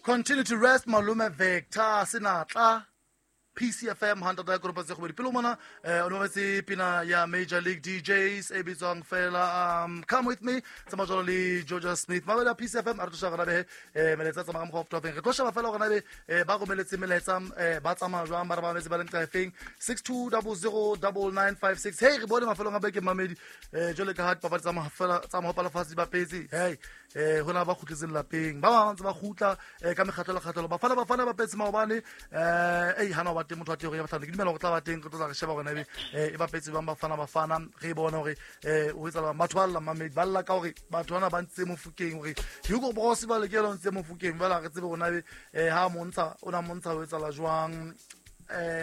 Continue to rest malume Vector Senatla. PCFM 100 ya tse gobedi pele mona o nometse pina ya Major League DJs e bitswang fela Come With Me tsamaya jalo le Georgia Smith mabele a PCFM a re tloša gona be melaetsa tsamaya ka mokgwa wa fotofeng re tlo sheba fela gona be ba romeletse melaetsa ba tsamaya jwang ba re ba mametse ba leng kaefeng 62009956. Hey, re bone mafelong a beke mamedi jwale ka ha dipapadi tsa mahopalafatshe di bapetse. Hey, ho na ba kgutletseng lapeng ba bang ntse ba kgutla ka mekgatlo le kgatlelo. Bafana ba petse maobane ei hana ba teng motho wa teng ya bahlano ke dumela go tla ba teng re tlo tla re sheba gona ebe e bapetse bang bafana re bona hore o etsa batho ba lla mamedi ba lla ka hore batho bana ba ntse mofokeng hore Hugo Broos ba lekela ntse mofokeng ba re tsebe gona ebe ha montsha o na montsha o etsa la jwang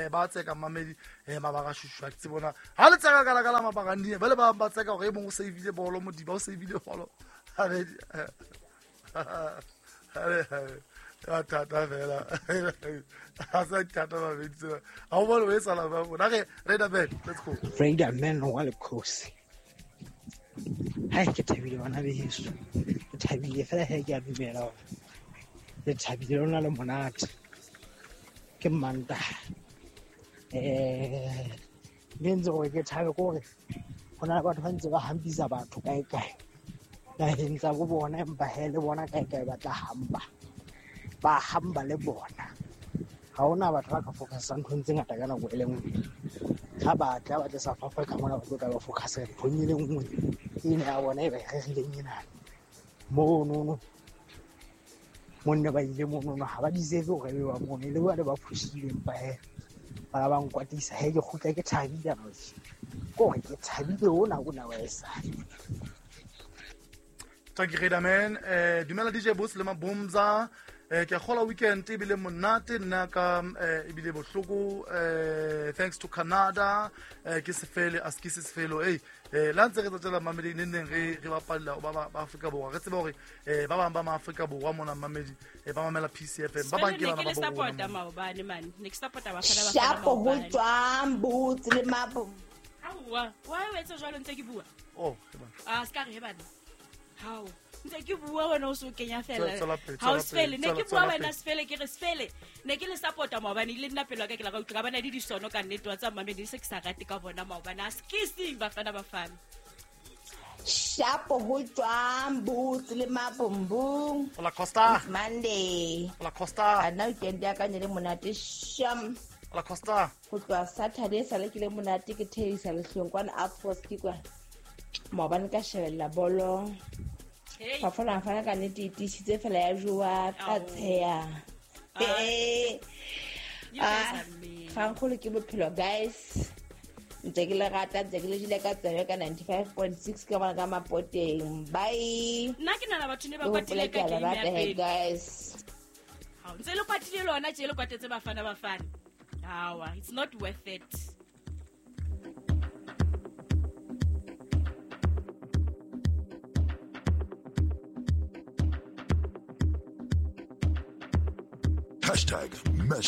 ba tseka mamedi mabaka shushwa ke tsebona ha le tseka kala kala mabaka ndi ba le ba tseka hore e mong o saveile bolo modiba o saveile bolo thata fela a sa thata babedi tsena ga o bone o e sala ba bona re Raider Man, let's go. Raider Man wa lekgosi. Hai, ke thabile bana beso, ke thabile fela he ke a dumela hore le thabile lona le monate. Ke Mantaha le ntse gore ke thabe ke gore ho na le batho ba ntse ba hampisa batho kae kae naheng tsa bo bona, empa he le bona kae kae ba tla hamba, ba hamba le bona. Ha hona batho ba ka focusang nthong tse ngata ka nako e le nngwe. Ha ba tla ba tle South Africa mona ba tlo tla ba focus nthong e le nngwe ena ya bona e ba e rerileng ena monono. Monne ba ile monono ha ba deserve hore ebe ba mono le bane ba phushile, empa he bana ba nkwatisa. He ke kgutla ke thabile kore ke thabile ona ona wa esale. Thank you, Raider Man. Dumela DJ Boss le Mabumza. Ke a kgola weekend ebile monate nna ka ebile bohloko. Thanks to Canada. Ke sefele a se sefelo. Hey, la ntse re tsatela mamedi ne neng re bapalla ba Afrika Borwa. Re tseba hore ba bang ba ma Afrika Borwa mona mamedi ba mamela PCFM. Ba bang ke bana ba borwa. Support maobane man. Ne ke support ba fana ba. Shapo ho tswang Boots le Mabu. Aowa, wa o etsa jwalo ntse ke bua? Oh, he bana. Ah, ska re he bana. How? Ntse ke bua wena o so kenya fela. Ha o sefele ne ke bua wena sefele ke re sefele ne ke le supporta maobane ile nna pelo ka ke la ka utlwa bana di disono ka nnete wa tsa mamedi se ke sa rate ka bona maobane a skising bafana. Shapo ho tswang Boots le Mabumbung. Hola Costa. It's Monday. Hola Costa. A nna weekend ya ka ne le monate sham. Hola Costa. Ho tloha Saturday sale ke le monate ke theisa lehlong kwana Afros ke kwa. Maobane ka shebella bolo. Bafana ka nnete e tiisitse fela ya jowa ka tsheya. Kgankgolo ke bophelo guys. Ntse ke le rata, ntse ke le jele ka tsebe ka 95.6 ka bona ka mapoteng. Bye. Nna ke nana batho ne ba kwatile ka game ya pele guys. Ha ntse le kwatile lona tje le kwatetse bafana. Hawa, it's not worth it. Hashtag Mesh.